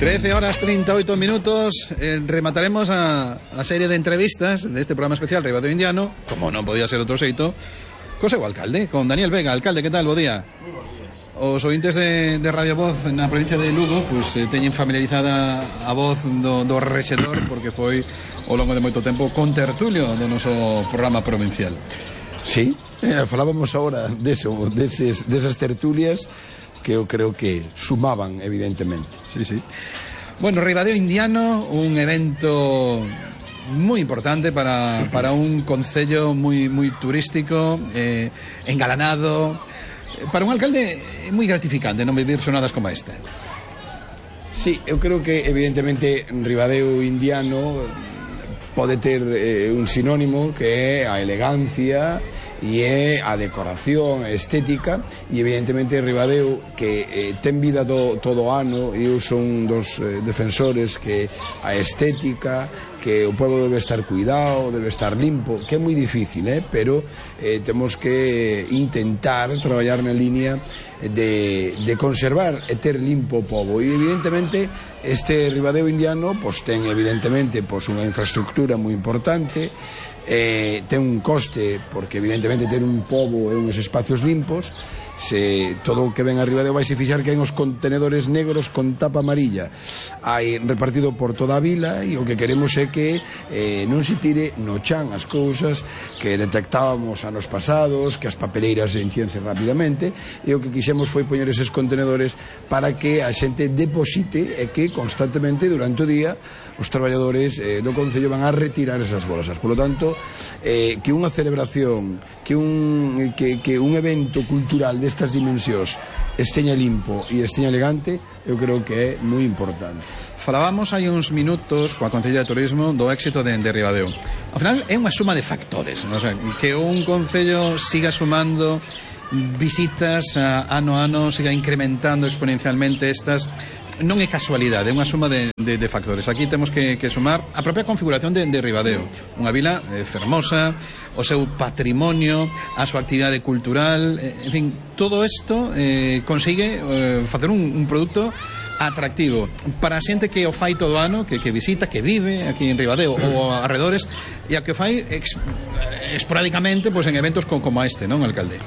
13:38. Remataremos a serie de entrevistas deste programa especial Ribadeo Indiano, como non podía ser outro xeito, co seu alcalde, con Daniel Vega. Alcalde, que tal? Bo día. Moi bons días. Os ointes de Radio Voz na provincia de Lugo pois teñen familiarizada a voz do rexedor, porque foi ao longo de moito tempo contertulio do noso programa provincial. Sí, falábamos agora desas tertulias que eu creo que sumaban, evidentemente. Sí, sí. Bueno, Ribadeo Indiano, un evento moi importante para un concello moi turístico, engalanado. Para un alcalde é moi gratificante non vivir sonadas como esta. Sí, eu creo que evidentemente Ribadeo Indiano pode ter un sinónimo que é a elegancia e é a decoración, a estética, e evidentemente Ribadeo que ten vida todo o ano, e eu son dos defensores que a estética, que o pobo debe estar cuidado, debe estar limpo, que é moi difícil, pero temos que intentar traballar na línea de conservar e ter limpo o pobo, e evidentemente este Ribadeo Indiano ten evidentemente unha infraestructura moi importante, ten un coste, porque evidentemente ter un pobo e uns espacios limpos, se todo o que ven a Ribadeo vai se fixar que hai uns contenedores negros con tapa amarilla hai repartido por toda a vila, e o que queremos é que non se tire no chan as cousas que detectábamos anos pasados, que as papeleiras enchense rapidamente, e o que quixemos foi poñer eses contenedores para que a xente deposite e que constantemente durante o día os traballadores do concello van a retirar esas bolsas. Por lo tanto, que unha celebración, que un evento cultural destas dimensións esteña limpo e esteña elegante, eu creo que é moi importante. Falábamos hai uns minutos coa Concellería de Turismo do éxito de Ribadeo. Ao final é unha suma de factores, ¿no? O sea, que un concello siga sumando visitas ano a ano, siga incrementando exponencialmente estas, non é casualidade, é unha suma de factores. Aquí temos que sumar a propia configuración de Ribadeo, unha vila fermosa, o seu patrimonio, a súa actividade cultural, en fin, todo isto consigue facer un produto atractivo para a xente que o fai todo o ano, que visita, que vive aquí en Ribadeo ou arredores, e a que o fai esporádicamente en eventos como este, non, alcalde?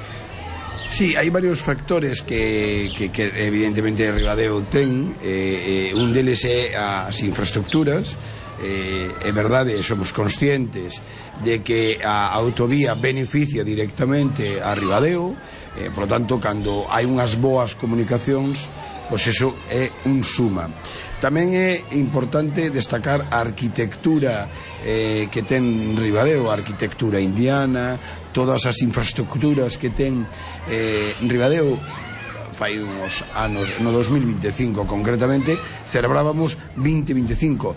Sí, hai varios factores que evidentemente Ribadeo ten, un deles é as infraestructuras. É verdade, somos conscientes de que a autovía beneficia directamente a Ribadeo, por lo tanto, cando hai unhas boas comunicacións, pois eso é un suma. Tamén é importante destacar a arquitectura que ten Ribadeo, a arquitectura indiana, todas as infraestructuras que ten Ribadeo. Fai uns anos, no 2025 concretamente, celebrábamos 25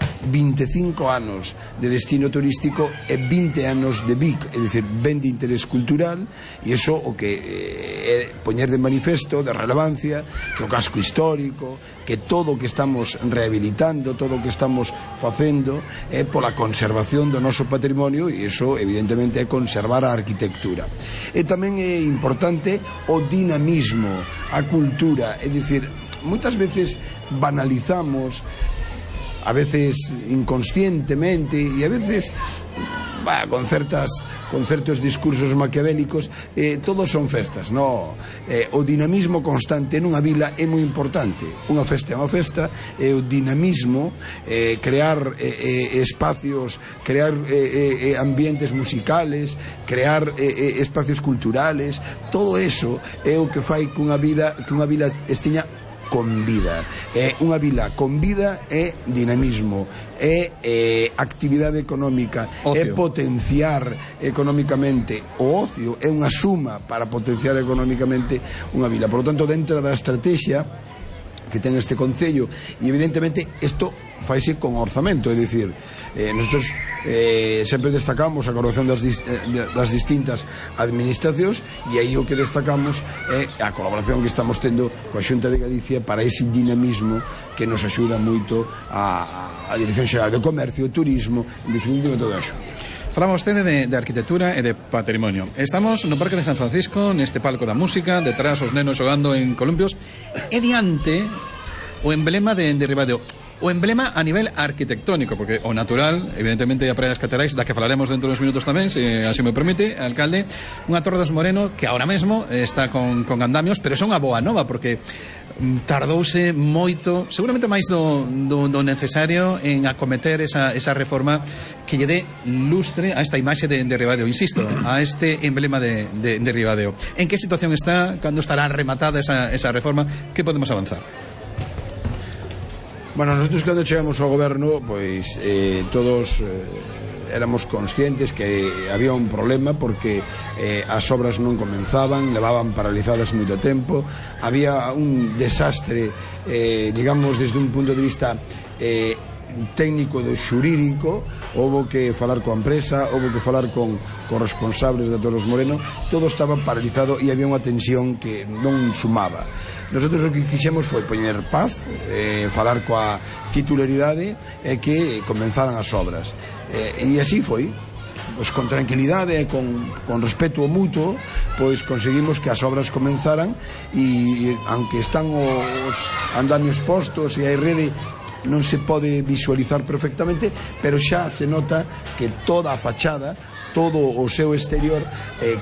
anos de destino turístico e 20 anos de BIC, é dicir, ben de interés cultural, e iso o que é poñer de manifesto de relevancia, que o casco histórico, que todo o que estamos rehabilitando, todo o que estamos facendo é pola conservación do noso patrimonio, e iso evidentemente é conservar a arquitectura. E tamén é importante o dinamismo, a cultura, é dicir, moitas veces banalizamos, a veces inconscientemente e a veces con certos discursos maquiavélicos, todos son festas, no? O dinamismo constante nunha vila é moi importante. Unha festa é unha festa, e o dinamismo, crear espacios, crear ambientes musicales, crear espacios culturales, todo eso é o que fai que unha vila esteña con vida. Unha vila con vida é dinamismo, é actividade económica, ocio. É potenciar económicamente o ocio, é unha suma para potenciar económicamente unha vila. Por lo tanto, dentro da estrategia que ten este concello, e evidentemente isto faise con orzamento, é dicir, nosotros sempre destacamos a colaboración das distintas administracións, e aí o que destacamos é a colaboración que estamos tendo coa Xunta de Galicia para ese dinamismo que nos axuda moito a Dirección Xeral de Comercio, Turismo, en definitiva toda a Xunta. Falamos vostede de arquitectura e de patrimonio. Estamos no Parque de San Francisco, neste palco da música, detrás os nenos xogando en columpios, e diante o emblema de Ribadeo. o emblema a nivel arquitectónico, porque o natural, evidentemente, a Praia das Caterais, da que falaremos dentro dos minutos tamén, se así me permite, alcalde, unha Torre dos Moreno que ahora mesmo está con andamios, pero é unha boa nova, porque tardouse moito, seguramente máis do necesario, en acometer esa reforma que lle dé lustre a esta imaxe de Ribadeo, insisto, a este emblema de Ribadeo. En que situación está? Cando estará rematada esa reforma? Que podemos avanzar? Bueno, nosotros cando chegamos ao goberno, pois todos éramos conscientes que había un problema porque as obras non comenzaban, levaban paralizadas moito tempo, había un desastre, digamos, desde un punto de vista técnico do xurídico. Houbo que falar coa empresa, houbo que falar con responsables da Torre dos Moreno, todo estaba paralizado e había unha tensión que non sumaba. Nosotros o que quixemos foi poñer paz, falar coa titularidade e que comenzaran as obras, e así foi. Pois con tranquilidade e con respeto mutuo, pois conseguimos que as obras comenzaran, e aunque están os andamios postos e hai rede, non se pode visualizar perfectamente, pero xa se nota que toda a fachada, todo o seu exterior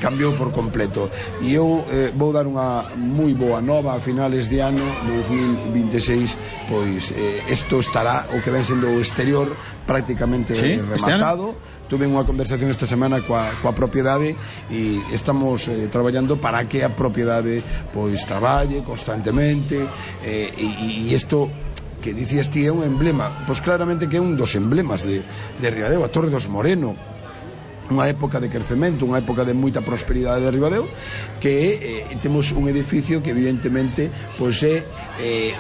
cambiou por completo. E eu vou dar unha moi boa nova a finales de ano 2026, pois isto estará, o que ven sendo o exterior, prácticamente rematado. Tuve unha conversación esta semana coa propiedade e estamos traballando para que a propiedade pois traballe constantemente, e isto que dicías ti é un emblema, pois claramente que é un dos emblemas de Ribadeo, a Torre dos Moreno, unha época de crecemento, unha época de moita prosperidade de Ribadeo, que temos un edificio que evidentemente pois é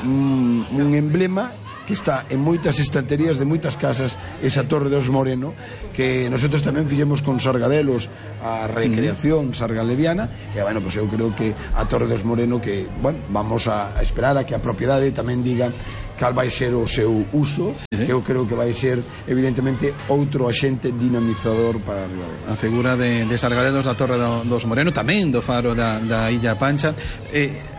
un emblema que está en moitas estanterías de moitas casas, esa Torre dos Moreno, que nosotros tamén fixemos con Sargadelos a recreación sargalediana, e bueno, pues eu creo que a Torre dos Moreno, que, bueno, vamos a esperar a que a propiedade tamén diga cal vai ser o seu uso, que eu creo que vai ser evidentemente outro axente dinamizador para Ribadeo. A figura de Sargadelos da Torre dos Moreno, tamén do faro da Illa Pancha.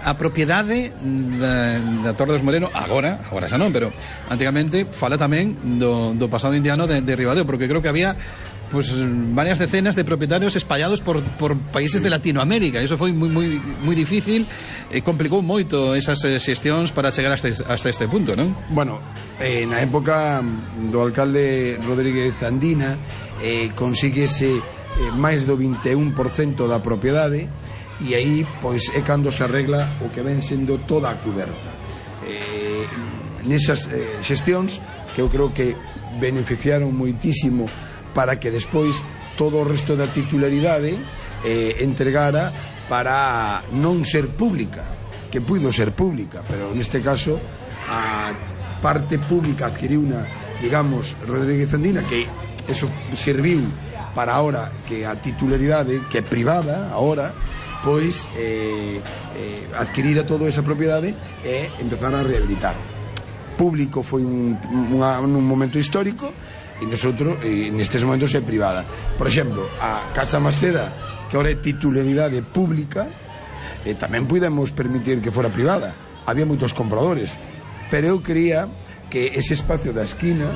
A propiedade da Torre dos Moreno agora xa non, pero antigamente fala tamén do pasado indiano de Ribadeo, porque creo que había pues varias decenas de propietarios espallados por países de Latinoamérica. Eso foi moi difícil, complicou moito esas xestións para chegar hasta este punto, non? Bueno, na época do alcalde Rodríguez Andina consíguese máis do 21% da propiedade, e aí pois é cando se arregla o que ven sendo toda a cuberta. Nesas xestións que eu creo que beneficiaron moitísimo para que despois todo o resto da titularidade entregara para non ser pública, que puido ser pública, pero neste caso a parte pública adquiriu unha, digamos, Rodríguez Andina, que eso serviu para ahora que a titularidade, que é privada ahora, pois adquirira toda esa propiedade e empezar a rehabilitar. Público foi un momento histórico, e nosotros nestes momentos é privada. Por exemplo, a Casa Maseda, que ahora é titularidade pública, tamén podemos permitir que fora privada. Había moitos compradores, pero eu creía que ese espacio da esquina,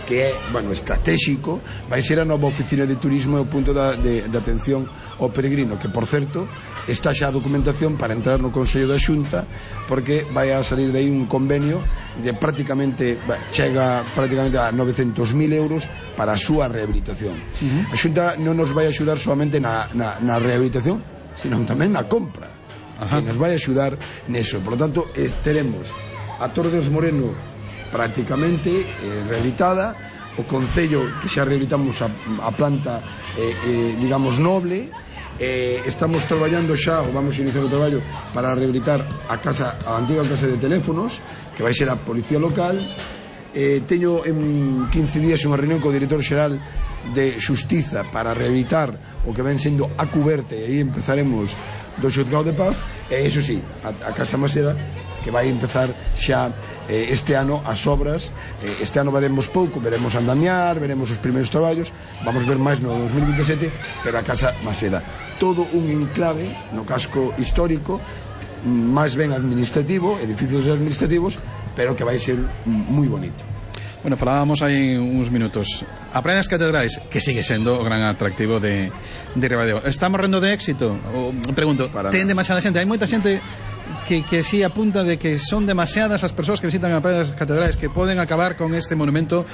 que é, bueno, estratégico, vai ser a nova oficina de turismo e o punto de atención ao peregrino, que, por certo, está xa a documentación para entrar no Consello da Xunta, porque vai a salir de aí un convenio de prácticamente, chega prácticamente a 900.000 euros para a súa rehabilitación. A Xunta non nos vai axudar solamente na rehabilitación, sino tamén na compra. Que nos vai axudar neso. Por lo tanto, teremos a Torre dos Moreno prácticamente rehabilitada, o Concello que xa rehabilitamos a planta digamos noble, estamos traballando xa, ou vamos a iniciar o traballo para rehabilitar a antiga casa de teléfonos, que vai ser a Policía Local. Teño en 15 días unha reunión co director xeral de Xustiza para rehabilitar o que ven sendo a cuberta, e aí empezaremos do Xuzgado de Paz, e iso sí, a Casa Maseda, que vai empezar xa este ano as obras. Este ano veremos pouco, veremos andamiar, veremos os primeiros traballos, vamos ver máis no 2027, pero a Casa Maseda, todo un enclave no casco histórico, máis ben administrativo, edificios administrativos, pero que vai ser moi bonito. Bueno, falábamos hai uns minutos. A Praia das Catedrais, que sigue sendo o gran atractivo de Ribadeo. Está morrendo de éxito? Pregunto, ten demasiada xente? Hai moita xente que sí apunta de que son demasiadas as persoas que visitan a Praia das Catedrais, que poden acabar con este monumento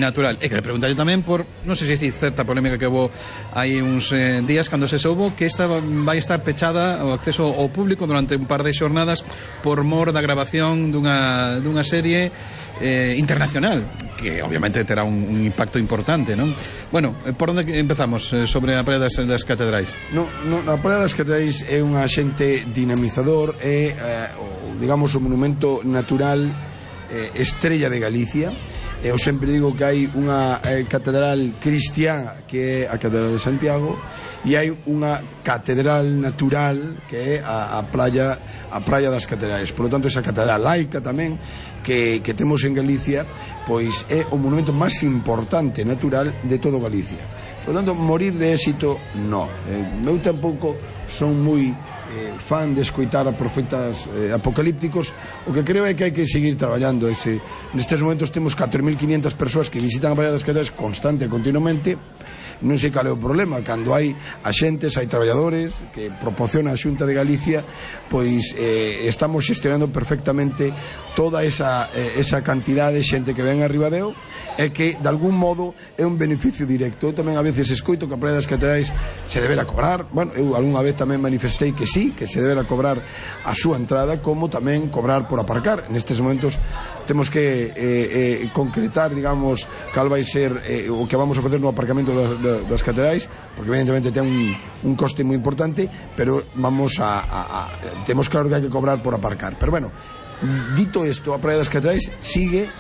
natural. E que le pregunta yo tamén por, non sei se dicir, certa polémica que houve hai uns días cando se soubo que esta vai estar pechada o acceso ao público durante un par de xornadas por mor da grabación dunha serie internacional, que obviamente terá un impacto importante, non? Bueno, por onde empezamos sobre a Praia das Catedrais? A Praia das Catedrais é un axente dinamizador, digamos, o monumento natural estrella de Galicia. Eu sempre digo que hai unha catedral cristiá, que é a Catedral de Santiago, e hai unha catedral natural, que é a Praia das Catedrais. Por lo tanto, esa catedral laica tamén que temos en Galicia, pois é o monumento máis importante natural de todo Galicia. Por lo tanto, morir de éxito, no. Eu tampouco son moi fan de escoitar a profetas apocalípticos. O que creo é que hai que seguir traballando. Nestes momentos temos 4.500 persoas que visitan a Praia das Catedrais constante e continuamente. Non sei cal é o problema. Cando hai axentes, hai traballadores que proporciona a Xunta de Galicia, pois estamos xestionando perfectamente toda esa cantidad de xente que ven a Ribadeo, e que de algún modo é un beneficio directo. Eu tamén a veces escoito que a Praia das Catedrais se debera cobrar. Bueno, eu algunha vez tamén manifestei que sí, que se debera cobrar a súa entrada, como tamén cobrar por aparcar. Nestes momentos temos que concretar, digamos, cal vai ser o que vamos a facer no aparcamento das catedrais, porque evidentemente ten un coste moi importante, pero temos claro que hai que cobrar por aparcar. Pero bueno, dito isto, a Praia das Catedrais sigue.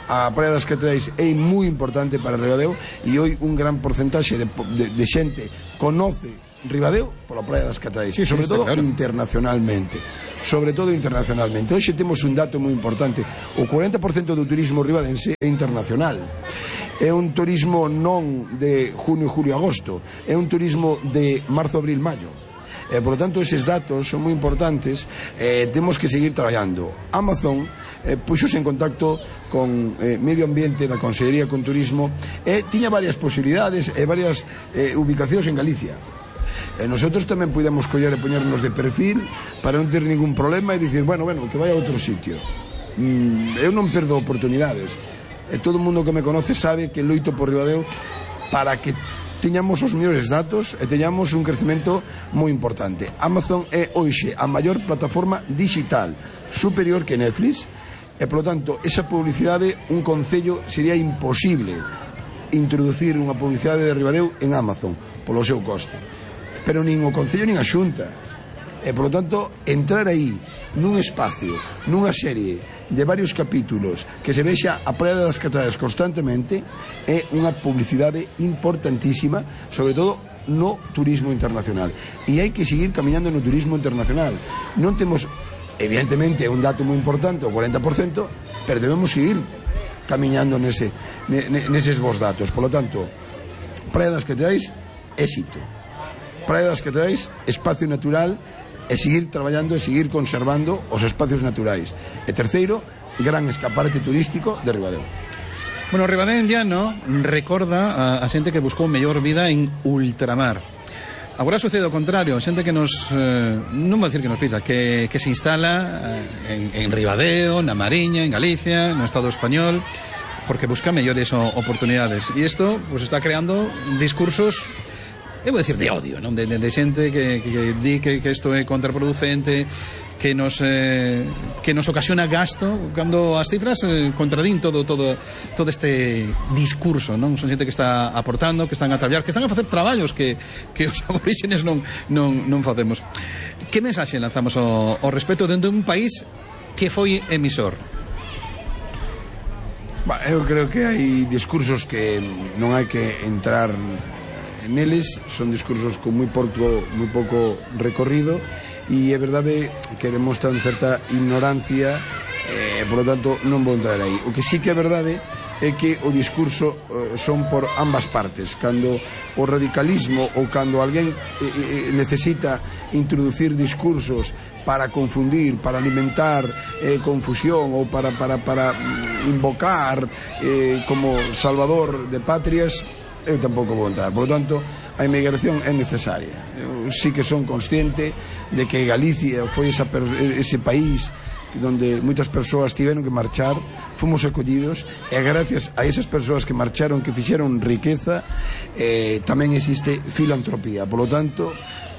A Praia das Catedrais é moi importante para Ribadeo, e hoy un gran porcentaxe de xente conoce Ribadeo pola Praia das Catedrais, sí, sobre todo claro, internacionalmente. Hoxe temos un dato moi importante: o 40% do turismo ribadense é internacional. É un turismo non de junio, julio, agosto, é un turismo de marzo, abril, maio. Por lo tanto, eses datos son moi importantes. Temos que seguir traballando. Amazon puxose en contacto con Medio Ambiente da Consellería con Turismo, e tiña varias posibilidades e varias ubicacións en Galicia. Nosotros tamén podemos coller e poñernos de perfil para non ter ningún problema e dicir, bueno, que vai a outro sitio. Eu non perdo oportunidades. Todo o mundo que me conoce sabe que loito por Ribadeo para que teñamos os mellores datos e teñamos un crecemento moi importante. Amazon é hoxe a maior plataforma digital, superior que Netflix, e polo tanto esa publicidade, un concello sería imposible introducir unha publicidade de Ribadeo en Amazon polo seu coste, pero nin o concello nin a Xunta. E polo tanto, entrar aí nun espacio, nunha serie de varios capítulos que se vexa a Praia das Catedrais constantemente, é unha publicidade importantísima, sobre todo no turismo internacional. E hai que seguir camiñando no turismo internacional. Non temos, evidentemente, un dato moi importante, o 40%, pero debemos seguir camiñando neses bons datos. Por lo tanto, Praia das Catedrais, éxito. Praia das Catedrais, espacio natural, e seguir traballando e seguir conservando os espacios naturais. E terceiro, gran escaparate turístico de Ribadeo. Bueno, Ribadeo en llano recorda a xente que buscou mellor vida en ultramar. Agora sucede o contrario, xente que nos non vou dicir que nos pisa, que se instala en Ribadeo, na Mariña, en Galicia, no Estado español, porque busca mellores oportunidades. E isto pues está creando discursos, eu vou dicir, de odio, non? De xente que di que isto é contraproducente, que nos ocasiona gasto, cando as cifras contradín todo este discurso, non? Son xente que está aportando, que están a traballar, que están a facer traballos que os aborígenes non facemos. Que mensaxe lanzamos ao respecto dentro dun país que foi emisor? Eu creo que hai discursos que non hai que entrar neles, son discursos con moi pouco recorrido, e é verdade que demostran certa ignorancia, por lo tanto non vou entrar aí. O que sí que é verdade é que o discurso son por ambas partes. Cando o radicalismo ou cando alguén necesita introducir discursos para confundir, para alimentar confusión ou para invocar como salvador de patrias, eu tampouco vou entrar. Por lo tanto, a inmigración é necesaria. Eu sí que son consciente de que Galicia foi ese país donde moitas persoas tiveron que marchar, fomos acollidos, e gracias a esas persoas que marcharon, que fixeron riqueza, tamén existe filantropía. Por lo tanto,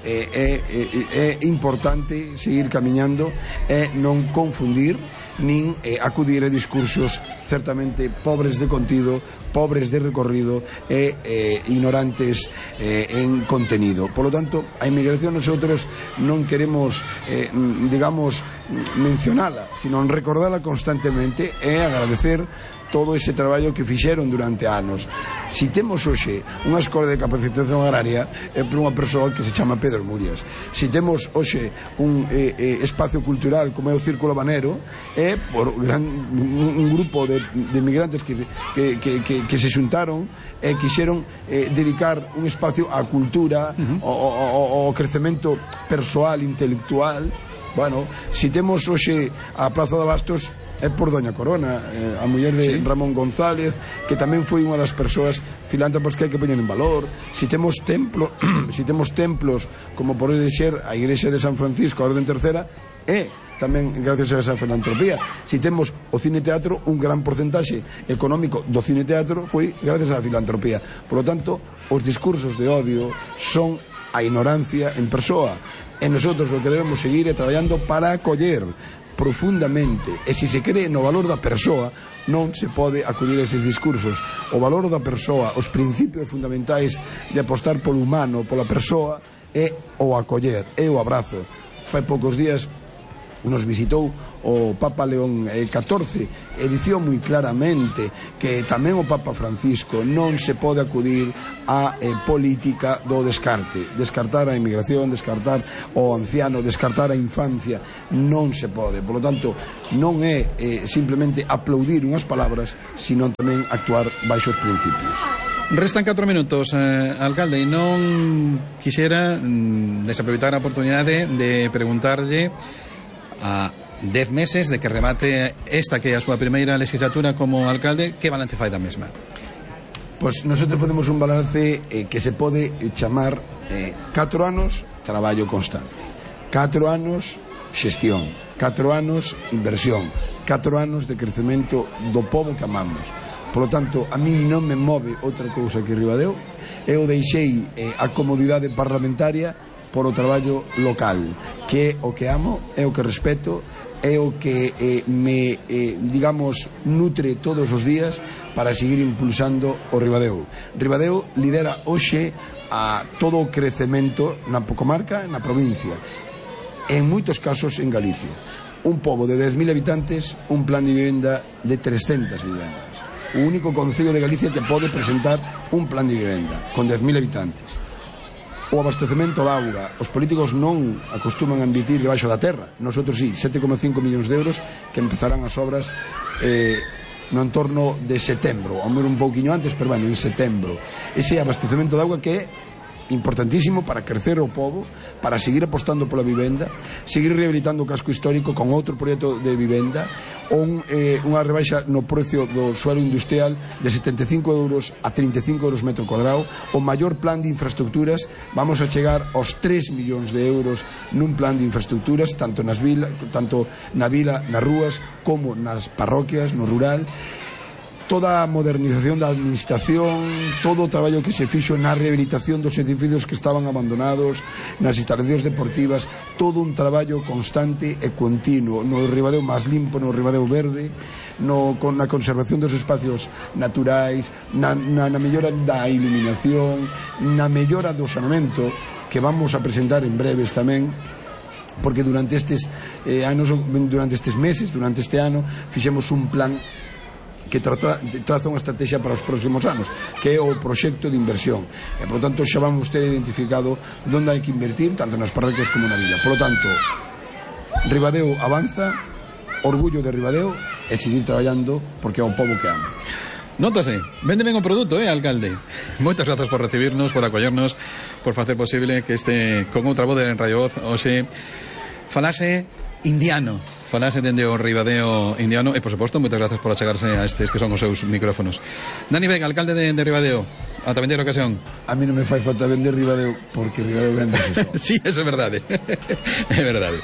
é importante seguir camiñando e non confundir nin acudir a discursos certamente pobres de contido, pobres de recorrido e ignorantes en contenido. Por lo tanto, a inmigración nosotros non queremos digamos mencionala, sino recordala constantemente e agradecer todo ese traballo que fixeron durante anos. Si temos hoxe unha escola de capacitación agraria, é por unha persoa que se chama Pedro Murias. Si temos hoxe un espacio cultural como é o Círculo Habanero, é por un grupo de migrantes que se xuntaron e quixeron dedicar un espacio á cultura, ao crecemento persoal, intelectual. Bueno, si temos hoxe a Praza de Bastos, é por Doña Corona, a muller de Ramón González, que tamén foi unha das persoas filántropas que hai que poñer en valor. Si temos templos como pode ser a Igrexa de San Francisco, a Orden Tercera, é tamén gracias a esa filantropía. Si temos o cine teatro, un gran porcentaxe económico do cine teatro foi gracias á filantropía. Por lo tanto, os discursos de odio son a ignorancia en persoa, e nosotros o que debemos seguir é traballando para acoller profundamente, e se se cree no valor da persoa, non se pode acudir a eses discursos. O valor da persoa, os principios fundamentais de apostar polo humano, pola persoa, é o acoller, é o abrazo. Fai poucos días nos visitou o Papa León XIV e dicía moi claramente que tamén o Papa Francisco non se pode acudir a política do descartar a inmigración, descartar o anciano, descartar a infancia, non se pode. Por lo tanto, non é simplemente aplaudir unhas palabras, sino tamén actuar baixo os principios. Restan 4 minutos, alcalde, e non quixera desaproveitar a oportunidade de preguntarlle a 10 meses de que remate esta que é a súa primeira legislatura como alcalde, que balance fai da mesma? Pois nosotros facemos un balance que se pode chamar 4 anos traballo constante, 4 anos xestión, 4 anos inversión, 4 anos de crecemento do pobo que amamos. Por lo tanto, a mí non me move outra cousa que Ribadeo. Eu deixei a comodidade parlamentaria por o traballo local, que é o que amo, é o que respeto, é o que me, digamos, nutre todos os días para seguir impulsando o Ribadeo. Ribadeo lidera hoxe a todo o crecemento na comarca, na provincia, en moitos casos en Galicia. Un pobo de 10.000 habitantes, un plan de vivenda de 300 vivendas. O único concello de Galicia que pode presentar un plan de vivenda con 10.000 habitantes. O abastecemento da auga, os políticos non acostuman a invertir debaixo da terra. Nosotros sí, 7,5 millóns de euros que empezarán as obras no entorno de setembro, ao mellor un pouquiño antes, pero bueno, en setembro. Ese abastecemento de auga que é importantísimo para crecer o pobo, para seguir apostando pola vivenda, seguir rehabilitando o casco histórico con outro proxecto de vivenda, unha rebaixa no precio do suelo industrial de 75 euros a 35 euros metro cuadrado, o maior plan de infraestructuras. Vamos a chegar aos 3 millóns de euros nun plan de infraestructuras, tanto na vila, nas rúas, como nas parroquias, no rural. Toda a modernización da administración, todo o traballo que se fixo na rehabilitación dos edificios que estaban abandonados, nas instalacións deportivas, todo un traballo constante e continuo no Ribadeo máis limpo, no Ribadeo verde, na conservación dos espacios naturais, na mellora da iluminación, na mellora do saneamento, que vamos a presentar en breves tamén, porque durante estes meses, durante este ano, fixemos un plan que traza unha estrategia para os próximos anos, que é o proxecto de inversión, e por lo tanto xa vamos ter identificado onde hai que invertir tanto nas parroquias como na vila. Por lo tanto, Ribadeo avanza, orgullo de Ribadeo, e seguir traballando porque é o pobo que ama. Nótase, vende ben o produto, alcalde. Moitas grazas por recibirnos, por acollernos, por facer posible que este con outra voz de Radio Voz hoxe falase indiano, falase dende o Ribadeo indiano e, por suposto, moitas grazas por achegarse a estes que son os seus micrófonos. Dani Vega, alcalde de Ribadeo, ata vender ocasión. A mí non me fai falta vender Ribadeo, porque Ribadeo vende eso. Sí, eso é verdade. É verdade.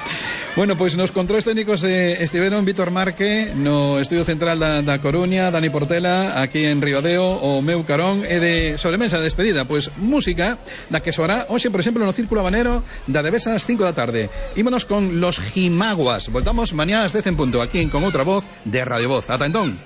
Bueno, pois nos controles técnicos estiveron Víctor Marque no estudio central da Coruña, Dani Portela aquí en Ribadeo, o meu carón e de sobremesa de despedida, pois música da que soará hoxe, por exemplo, no Círculo Habanero da Devesa ás 5 da tarde. Ímonos con Los Jimaguas. Voltamos mañá ás 10 en punto aquí en Con Outra Voz de Radio Voz. Ata entón.